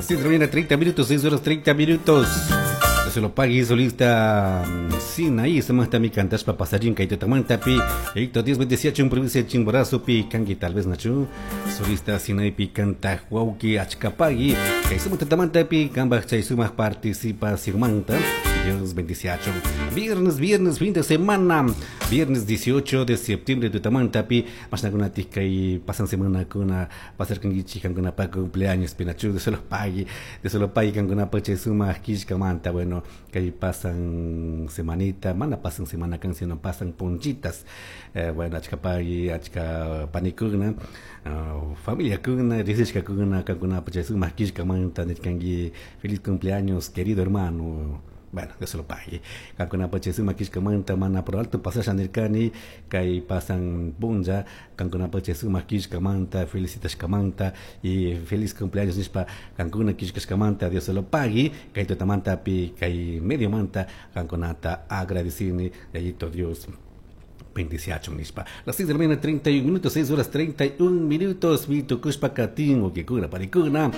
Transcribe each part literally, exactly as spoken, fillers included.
Las seis de la mañana, treinta minutos, seis horas treinta minutos. Se lo pague solista sin ahí se mata mi cantaspa pasarín kaitatamanta pi Héctor diez veintisiete en provincia de Chimborazo pi kangi tal vez nachu solista sin ahí pi canta huauki achkapagui kay pi kambaj chay sumaj participación Dios bendiciacho. Viernes, viernes, fin de semana. Viernes dieciocho de septiembre de Tamantapi. Más y pasan semana con pasar con con pa cumpleaños pinachu de solo pague, de solo pague con pache suma manta. Bueno, que ahí pasan semanita, mana pasan semana canción, no pasan ponchitas. Eh, bueno, achkapagui, achka panikuna, uh, familia kuna, risishka kuna, kankuna pache suma manta, nirkangi, feliz cumpleaños, querido hermano. Bueno, Dios se lo pague. Kankuna pache suma kishkamanta mana por alto pasasha nirkani kay pasan punlla kankuna pache suma kishkamanta felicitashkamanta y feliz cumpleaños nishpa kankuna kishkashkamanta Dios se lo pague. Kay tutamanta pi kay medio manta kankunata agradecini yayito Dios bendiciacho nishpa. Las seis de la mañana treinta y un minutos, seis horas treinta y un minutos, mi tukushpa katin o kikuna parikuna.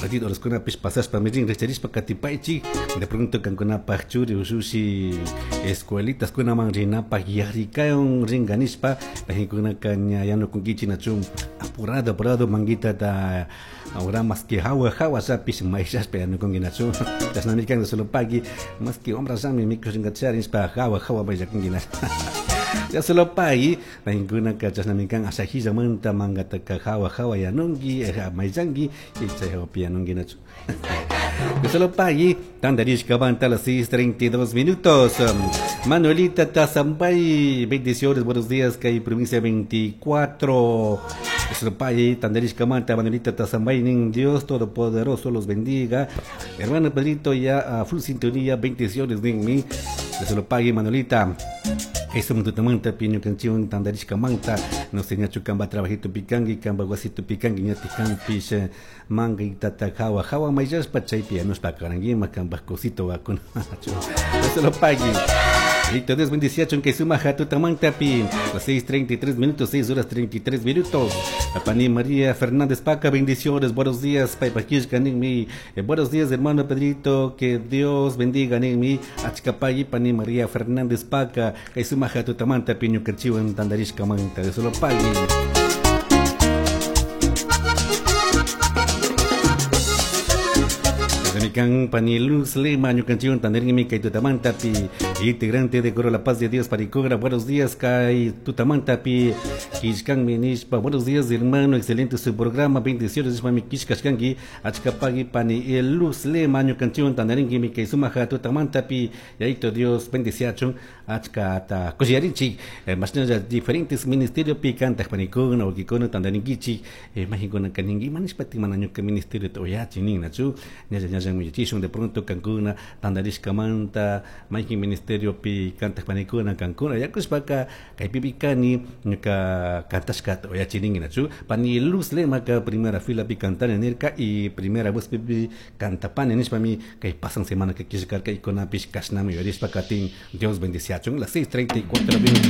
Ratito los kuna pish pasaspa mirin recharispa katipaichi de pronto kankuna pachuri ushushi escuelitas kuna man rinapa yarikayon ringanispa kuna kanya yano kunkichi nachum apurado apurado manguita ta ahora más que hawa hawa sa pish maishaspa yano kunki nachum tasnamikan solo pagui más que hombra sami micro ringacharispa hawa hawa maisha kunki Ya se lo pagui, ninguna kachasnamikan asajilla manta mangataka hawa hawa yanungi, maizangi, y chay yanungi nachu. Ya se lo pagui, tandarishka banta a las seis treinta y dos minutos. Manuelita Tazambay, bendiciones, buenos días, que hay provincia veinticuatro. Ya se lo pagui, tandarishka manta, Manuelita Tazambay, nin Dios Todopoderoso los bendiga. Hermano Pedrito, ya a full sintonía, bendiciones, nin mi. Ya se lo pague, Manuelita. Eso me tutamanta piño canción tandarishka manta no se ñachu kamba trabajito picangi kamba guasito picangi ñati campish manga y tata jawa jawa mayaspa chaypi anuspa karanguima kamba cosito vacuna. Eso lo pague. Listo, Dios bendiciacho en que suma jatutamanta pi las seis treinta y tres minutos, seis horas treinta y tres minutos. Pani María Fernández Paca, bendiciones, buenos días, Paipaquishka, mi. Eh, buenos días, hermano Pedrito, que Dios bendiga, mi. Achkapay, Pani María Fernández Paca, que suma jatutamanta piño cachiwan tandarishka manta, de solo pagui. Mikan Pani Luz Lema, ñukanchiwan tandarinmi kay tutamantapi, integrante de Coro La Paz de Dios Paricogra, buenos días kay tutamantapi, kishkanmi nishpa, buenos días hermano, excelente su programa, bendiciones nishpa mi kishkashkanki, achkapagui Pani Luz Lema, ñukanchiwan tandarinmi kay sumaja tutamantapi, yayito Dios bendiciachun, achkata kushiyarinchik, eh, mashnalla diferentes ministerios pi kantaj panikuna, wakikuna tandarinkichik, eh, majikuna kaninki, manishpa timana ñuka ministerio toyachi ninachu, ñalla ñalla de pronto kankuna tandarishka manta maykin ministerio pi kantaj panikuna kankuna yakushpaka kaypipi kani ñuka kantashkata oyachirinki nachu Pani Luz Lema ka primera fila pi kantani nirka y primera voz pi kantapani nishpami kay pasan semana que kishkarka y kunapish kashnami yurishpa katin Dios bendiciachun las seis treinta y cuatro minutos.